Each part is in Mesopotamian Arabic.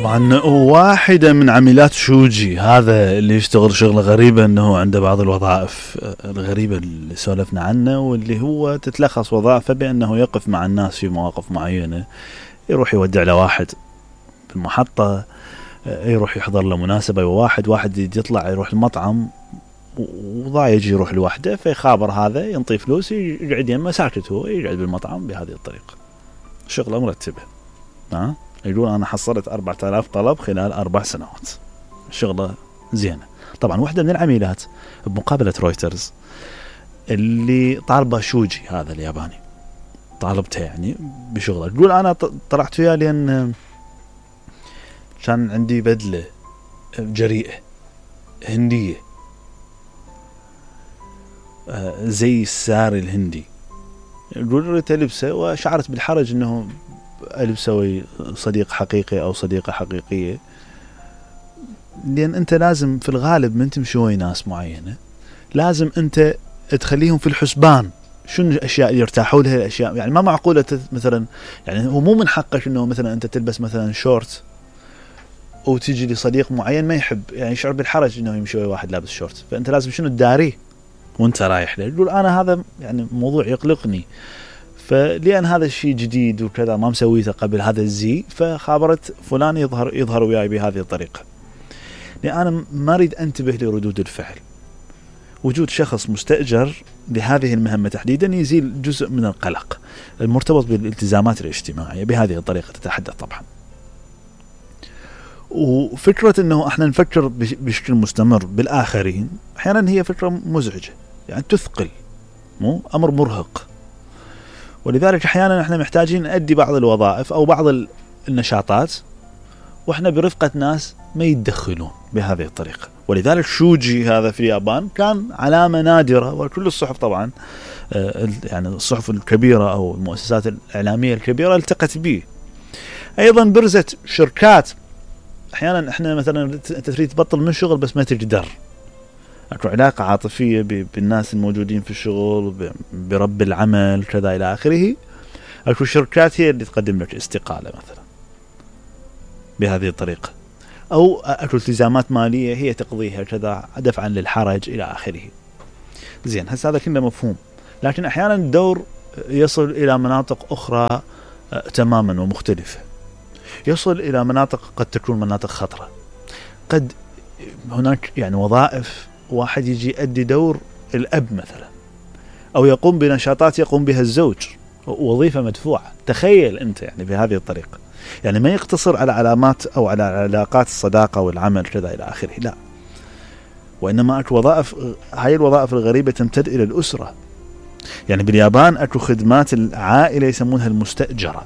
طبعا واحدة من عمليات شوجي هذا اللي يشتغل شغلة غريبة انه عنده بعض الوظائف الغريبة اللي سولفنا عنه، واللي هو تتلخص وظائفه بانه يقف مع الناس في مواقف معينة، يروح يودع لواحد في المحطة، يروح يحضر له مناسبة، واحد يطلع يروح المطعم وضاع يجي يروح لوحده، فيخابر هذا ينطي فلوس يقعد يمه ساكت، هو يقعد بالمطعم بهذه الطريقة. شغلة مرتبة، يقول أنا حصلت 4000 طلب خلال 4 سنوات، شغلة زينة. طبعا واحدة من العميلات بمقابلة رويترز اللي طالبة شوجي هذا الياباني، طالبته يعني بشغله، تقول أنا طلعت فيها لأن كان عندي بدلة جريئة هندية زي الساري الهندي، يقول ريت ألبسه، وشعرت بالحرج أنه ألبسه صديق حقيقي أو صديقة حقيقية، لأن أنت لازم في الغالب من تمشي ويا ناس معينة لازم أنت تخليهم في الحسبان شنو الأشياء اللي يرتاحوا لها، الأشياء يعني ما معقولة مثلا، يعني هو مو من حقك أنه مثلا أنت تلبس مثلا شورت وتيجي لصديق معين ما يحب، يعني يشعر بالحرج أنه يمشي ويا واحد لابس شورت، فأنت لازم شنو تداريه وانت رايح له. يقول أنا هذا يعني موضوع يقلقني، فلأن هذا الشيء جديد وكذا ما مسويته قبل هذا الزي، فخابرت فلان يظهر وياي بهذه الطريقة، لأن أنا ما أريد أنتبه لردود الفعل. وجود شخص مستأجر لهذه المهمة تحديدا يزيل جزء من القلق المرتبط بالالتزامات الاجتماعية بهذه الطريقة تتحدث طبعا. وفكرة أنه احنا نفكر بشكل مستمر بالآخرين أحيانا هي فكرة مزعجة، يعني تثقل، مو أمر مرهق، ولذلك أحيانا احنا محتاجين نأدي بعض الوظائف أو بعض النشاطات واحنا برفقة ناس ما يتدخلون بهذه الطريقة. ولذلك شوجي هذا في اليابان كان علامة نادرة، وكل الصحف طبعا يعني الصحف الكبيرة أو المؤسسات الإعلامية الكبيرة التقت به. أيضا برزت شركات، أحيانا احنا مثلا أنت تريد تبطل من شغل بس ما تقدر، أكو علاقة عاطفية بالناس الموجودين في الشغل، برب العمل كذا إلى آخره، أكو شركات هي اللي تقدم لك استقالة مثلا بهذه الطريقة، أو أكو التزامات مالية هي تقضيها كذا دفعا للحرج إلى آخره. زين، هذا كله مفهوم، لكن أحيانا الدور يصل إلى مناطق أخرى تماما ومختلفة، يصل إلى مناطق قد تكون مناطق خطرة. قد هناك يعني وظائف واحد يجي يؤدي دور الأب مثلا، أو يقوم بنشاطات يقوم بها الزوج، وظيفة مدفوعة. تخيل أنت يعني بهذه الطريقة، يعني ما يقتصر على علامات أو على علاقات الصداقة والعمل كذا إلى آخره، لا، وإنما أكو وظائف، هاي الوظائف الغريبة تمتد إلى الأسرة. يعني باليابان أكو خدمات العائلة يسمونها المستأجرة،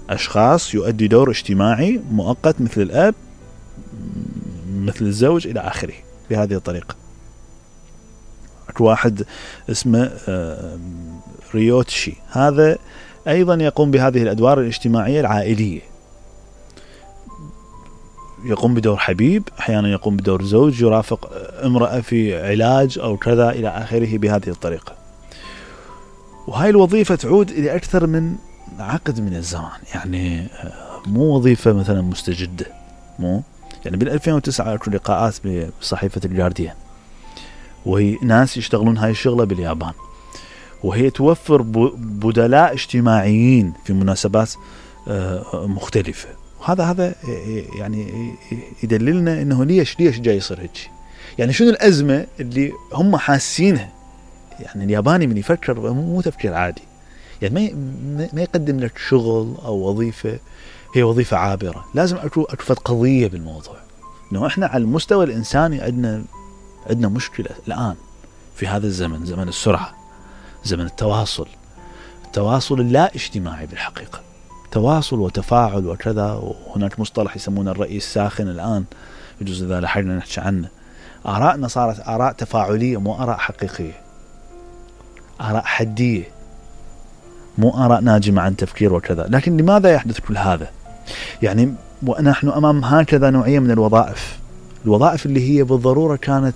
أشخاص يؤدي دور اجتماعي مؤقت مثل الأب مثل الزوج إلى آخره بهذه الطريقة. أكو واحد اسمه ريوتشي، هذا أيضا يقوم بهذه الأدوار الاجتماعية العائلية، يقوم بدور حبيب، أحيانا يقوم بدور زوج يرافق امرأة في علاج أو كذا إلى آخره بهذه الطريقة. وهاي الوظيفة تعود إلى أكثر من عقد من الزمان، يعني مو وظيفة مثلا مستجدة، مو يعني بال2009 أكو لقاءات بصحيفة الجارديان، وهي ناس يشتغلون هاي الشغلة باليابان، وهي توفر بدلاء اجتماعيين في مناسبات مختلفة. هذا يعني يدللنا انه ليش جاي يصير هيك، يعني شنو الأزمة اللي هم حاسينها. يعني الياباني من يفكر مو تفكير عادي، يعني ما يقدم لك شغل او وظيفة هي وظيفة عابرة، لازم اكو قضية بالموضوع، انه احنا على المستوى الانساني عندنا مشكلة الان في هذا الزمن، زمن السرعة، زمن التواصل اللا اجتماعي بالحقيقة، تواصل وتفاعل وكذا. وهناك مصطلح يسمونه الرأي الساخن الآن، يجوز إذا لحقنا نحكي عنه. آرائنا صارت آراء تفاعلية، مو آراء حقيقية، آراء حدية، مو آراء ناجمة عن تفكير وكذا. لكن لماذا يحدث كل هذا؟ يعني ونحن أمام هكذا نوعية من الوظائف اللي هي بالضرورة كانت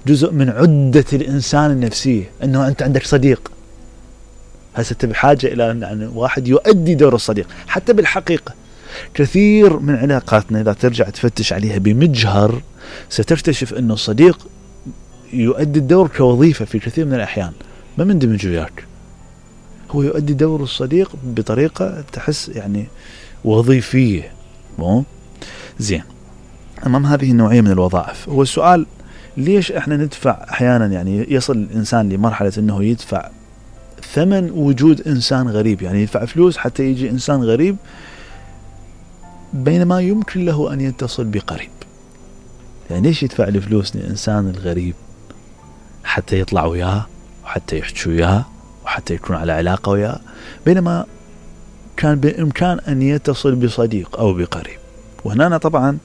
جزء من عدة الإنسان النفسية، أنه أنت عندك صديق، هسه بحاجة إلى يعني واحد يؤدي دور الصديق. حتى بالحقيقة كثير من علاقاتنا إذا ترجع تفتش عليها بمجهر ستكتشف أن الصديق يؤدي الدور كوظيفة في كثير من الأحيان، ما مندمج وياك، هو يؤدي دور الصديق بطريقة تحس يعني وظيفية. مو زين. أمام هذه النوعية من الوظائف، هو السؤال ليش احنا ندفع احيانا، يعني يصل الانسان لمرحلة انه يدفع ثمن وجود انسان غريب، يعني يدفع فلوس حتى يجي انسان غريب بينما يمكن له ان يتصل بقريب. يعني ليش يدفع الفلوس للانسان الغريب حتى يطلع وياه وحتى يحكي وياه وحتى يكون على علاقة وياه، بينما كان بإمكان أن يتصل بصديق أو بقريب؟ وهنا طبعا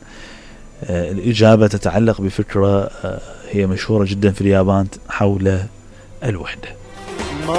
الإجابة تتعلق بفكرة هي مشهورة جدا في اليابان حول الوحدة.